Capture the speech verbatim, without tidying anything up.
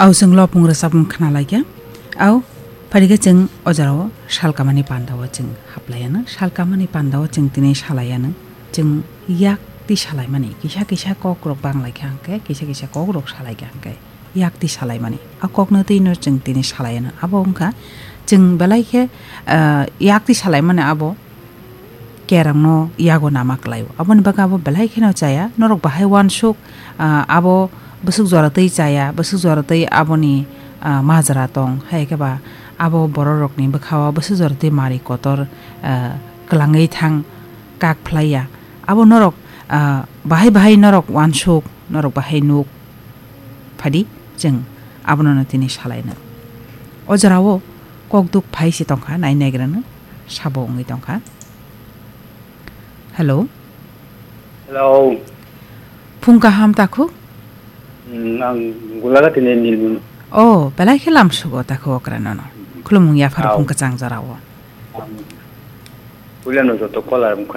Au chwng lopung rwchapmung khna laikha. Au phaikhe chwng o jorao salkamani pandao chwng haplaiano. Salkamani pandao chwng tini salaiano. Chwng yak twi salaimani. Kisa kisa kokrok bang laikha hwnkhe, kisa kisa kokrok salaikha hwnkhe. Yak twi salaimani. A kokno twino chwng tini salaiano. Abo wngkha chwng belai khe, ah, yak twi salaimani abo kerongno yago nama kwlaio. Aboni bagwi abo belai kheno chaya. Norok bahai uansuk, ah, abo bwswk jora twi chaya, bwswk jora twi aboni, ah, majra tong. Hai khe ba abo bororokni bwkhao bwswk jora twi mari kotor, ah, kwlangwi thang kak phlaiya. Abo norok, ah, bahai bahai norok uansuk, norok bahai nuk phadi chwng abono tini salaino. O jorao kokduk phai se tongkha, nai naigrano sabo wngwi tongkha. Hello. Hello. Phung kaham takhuk? Hmm, ang gulaga tini Nilmunu. Oh, belai khe lam sugo takhuk okra nono. Khulumung yaphar Au. Phung kachang jorao. Ang Puilano joto kolar wngkha